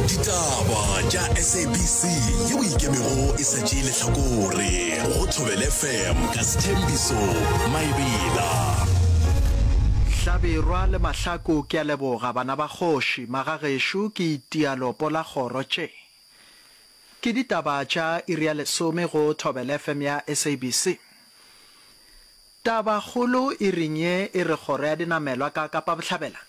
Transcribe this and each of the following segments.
Ditaba tša SABC yeo e ikemego e sa tšee lehlakore go Thobela FM ka Sthembiso Maebela. Hlabirwa le Mahlaku ke a leboga bana ba kgoši magagešo ke itia lopo la kgoro tše ke ditaba tša iri ya lesome go Thobela FM ya SABC. Tabakgolo iring ye e re kgoro ya dinamelwa ka Kapa Bohlabela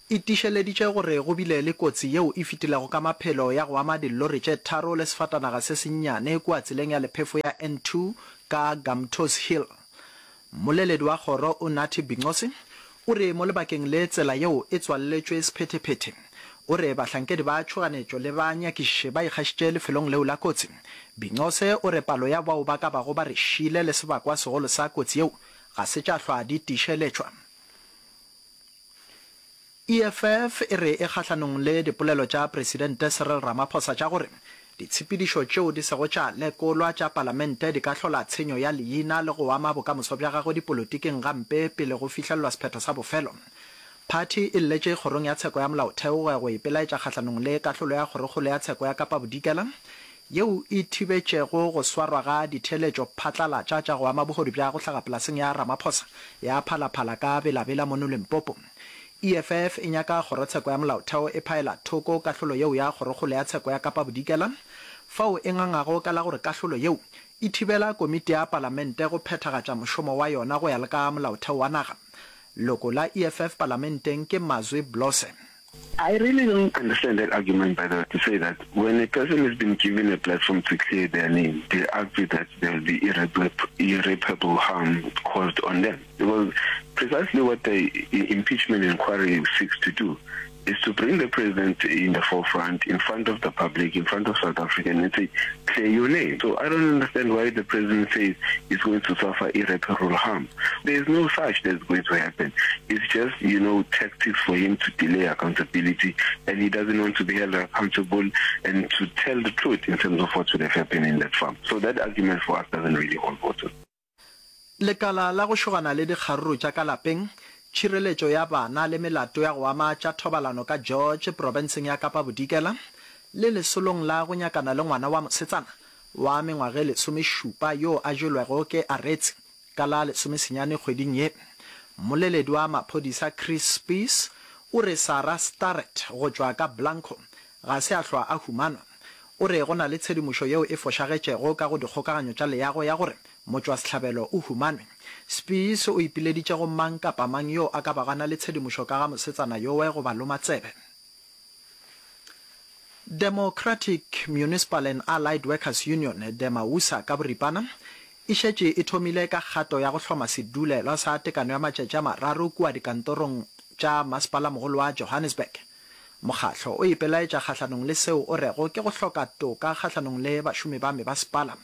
e tiišeleditše gore go bile le kotsi yeo e fetilego ka maphelo ya go ama dillori tše tharo le sefatanaga se sennyane kua tseleng ya lephefo ya N2 ka Gamtoos Hill. Mmoleledi wa kgoro Unathi Binqose o re mo lebakeng le tsela yeo e tswalletšwe sephethephethe. O re bahlankedi ba tšhoganetšo le banyakišiši ba ikgašitše lefelong leo la kotsi. Binqose o re palo ya bao ba ka bago ba re šile le sebakwa segolo sa kotsi yeo ga se tša hlwa di tiišeletšwa. EFF e re e kgahlanong le dipolelo tša Presidente Cyril Ramaphosa tša gore ditshepedišo tšeo di sego tša lekolwa tša palamente di ka hlola tshenyo ya leina le go ama bokamoso bja gagwe dipolotiking gampe pele go fihlelelwa sephetho sa bofelo. Phathi e lletše Kgorong ya Tsheko ya Molaotheo go ya go ipelaetša kgahlanong le kahlolo ya Kgorokgolo ya Tsheko ya Kapa Bodikela yeo e thibetšego go swarwa ga ditheeletšo phatlalatša tša go ama bohodu bja go hlaga polaseng ya Ramaphosa ya Phalaphala ka Bela-Bela mono Limpopo. EFF e nyaka Kgorotsheko ya Molaotheo e phaela thoko kahlolo yeo ya Kgorokgolo ya Tsheko ya Kapa Bodikela fao e ngangago ka la gore kahlolo yeo e thibela komiti ya Palamente go phethagatša mošomo wa yona go ya le ka Molaotheo wa naga. Loko la EFF Palamenteng ke Mazwi Blose. I really don't understand that argument by the way to say that when a person has been given a platform to clear their name they argue that there will be irreparable harm caused on them because precisely what the impeachment inquiry seeks to do is to bring the president in the forefront in front of the public in front of South Africa and say clear your name so I don't understand why the president says he's going to suffer irreparable harm there is no such that's going to happen it's just you know tactics for him to delay accountability and he doesn't want to be held accountable and to tell the truth in terms of what would have happened in that farm so that argument for us doesn't really hold water Lekala la go šogana le dikgaruru tša ka lapeng, tšhireletšo ya bana le melato ya go ama tša thobalano ka George profenseng ya Kapa Bodikela le lesolong la go nyakana le ngwana wa mosetsana wa mengwaga e lesomešupa yo a jelwego ke aretsi ka la lesomesenyane kgweding ye. Mmoleledi wa maphodisa Chris Spies o re Sarah Starrett go tšwa ka Blanco ga se a hlwa a humanwa. O re go na le tshedimošo yeo e fošagetšego ka go dikgokaganyo tša leago ya gore motšwasehlabelo o humanwe. Spies o ipileditše go mang kapa mang yo a ka bago a na le tshedimošo ka ga mosetsana yowe go ba loma tsebe. Democratic Municipal and Allied Workers Union, Demausa ka boripana, e šetše e thomile ka kgato ya go hloma sedulelwa sa tekano ya matšatši a mararo kua dikantorong tša Masepalamogolo wa Johannesburg. Mokgahlo o ipelaetša kgahlanong le seo o rego ke go hloka toka kgahlanong le bašomi ba mebasepala.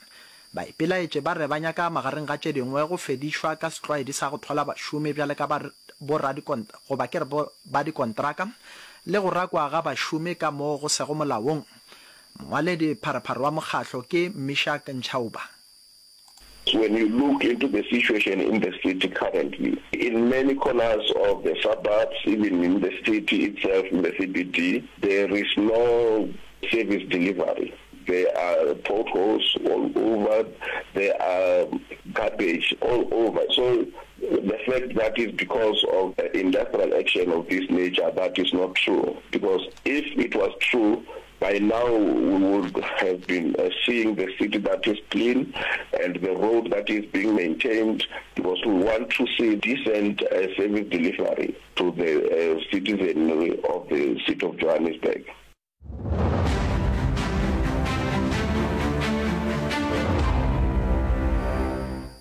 Baipelaetši ba re ba nyaka magareng ga tše dingwe go fedišwa ka setlwaedi sa go thwala bašomi bjale ka ba goba ke re ba dikontraka le go rakwa ga bašomi ka mo go sego molaong. Mongwaledi pharephare wa mokgahlo ke Meshack Nchauba. When you look into the situation in the city currently, in many corners of the suburbs, even in the city itself, in the CBD, there is no service delivery. There are potholes all over, there are garbage all over. So the fact that is because of industrial action of this nature, that is not true. Because if it was true, By now we would have been seeing the city that is clean and the road that is being maintained because we want to see decent service delivery to the citizenry of the city of Johannesburg.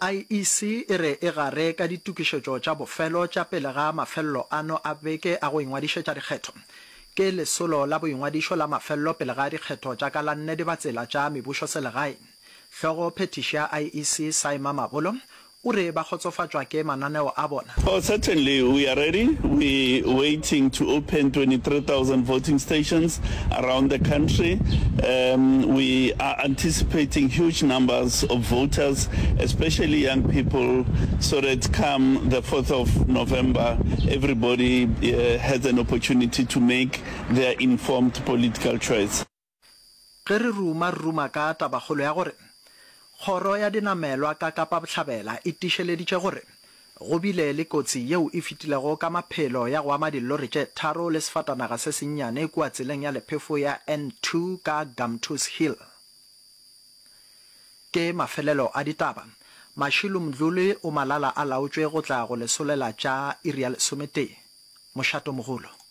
IEC e re e gare ka ditokišetšo tša bofelo tša pele ga mafelelo ano a beke a go ingwadišetša dikgetho. Ke lesolo la boingwadišo la mafelelo pele ga dikgetho tša ka la nne dibatsela tša mebušoselegae. Hlogo phethiši ya IEC Saima Mabolo o re ba kgotsofatšwa ke mananeo a bona. Oh certainly we are ready, we waiting to open 23,000 voting stations around the country, um we are anticipating huge numbers of voters especially young people so that come the 4th of November everybody has an opportunity to make their informed political choice. Ge re ruma, re ruma ka tabakgolo ya gore Kgoro ya Dinamelwa ka Kapa Bohlabela e tiišeleditše gore go bile le kotsi yeo e fetilego ka maphelo ya go ama dillori tše tharo le sefatanaga se sennyane kua tseleng ya lephefo ya N2 ka Gamtoos Hill. Ke mafelelo a ditaba. Mashilo Mdluli o malala a laotšwe go tla go le solela tša iri ya lesometee. Mošatomogolo.